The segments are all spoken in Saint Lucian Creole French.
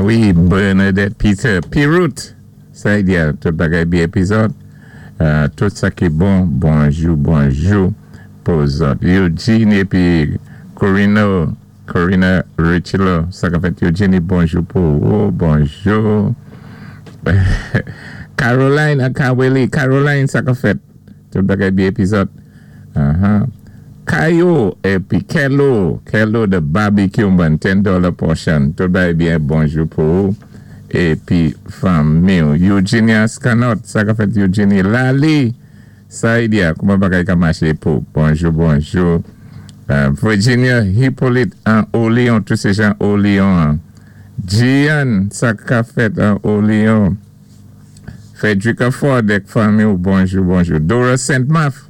Wi, Bernadette Peter, Pirout, sa i di-a, tout bagay byen épi zòt? Tout sa ki bon, bonjou, bonjou pou zòt. Eugene épi Corino, Corina Richilo, sa ka fèt, Eugenie? Bonjou pou ou, bonjou. Caroline Akaweli, Caroline, sa ka fèt? Tout bagay byen épi zòt? Kayo épi Kelo, Kelo the barbecue man, $10 portion. Tout bagay byen, bonjou pou ou épi fanmi. Eugenia Scanot, sa ka fèt, Eugenie? Lali, sa i di-a, kouman bagay ka maché pou? Bonjou, bonjou. Virginia Hippolyte an Olion, tout sé jan Olion. Gian, sa ka fèt an Olion? Frederica Ford ak fanmi, bonjou, bonjou. Dora Saint-Maf,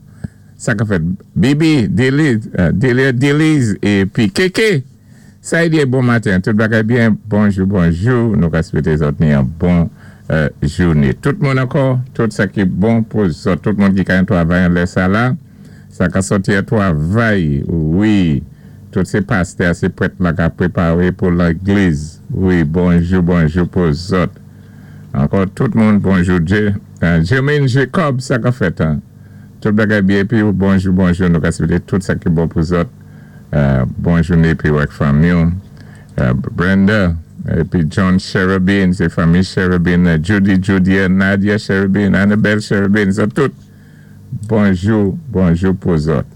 sa ka fèt? Bibi, Deli, Delia Deliz épi Keke. Sa i di, bon maten, tout bagay byen, bonjou, bonjou. Nou ka swété zòt ni yon bon jouné. Tout moun ankò, tout sa ki bon pou zòt, tout moun ki ka yon twavay an lè sa la, sa ka sòti an twavay, wi. Tout sé pastè, sé prèt la ka préparé pou légliz. Wi, bonjou, bonjou pou zòt. Ankò tout moun, bonjou. Jermaine Jacob, sa ka fèt, hein? Tout bagay byen épi bonjou, bonjou. Nou ka swété tout sa ki bon pou zòt. Bon jouné épi ak fanmi. Brenda épi John Cherubin, sé fanmi Cherubin, Judy, Judia, Nadia Cherubin, Annabelle Cherubin, sa tout. Bonjou, bonjou pou zòt.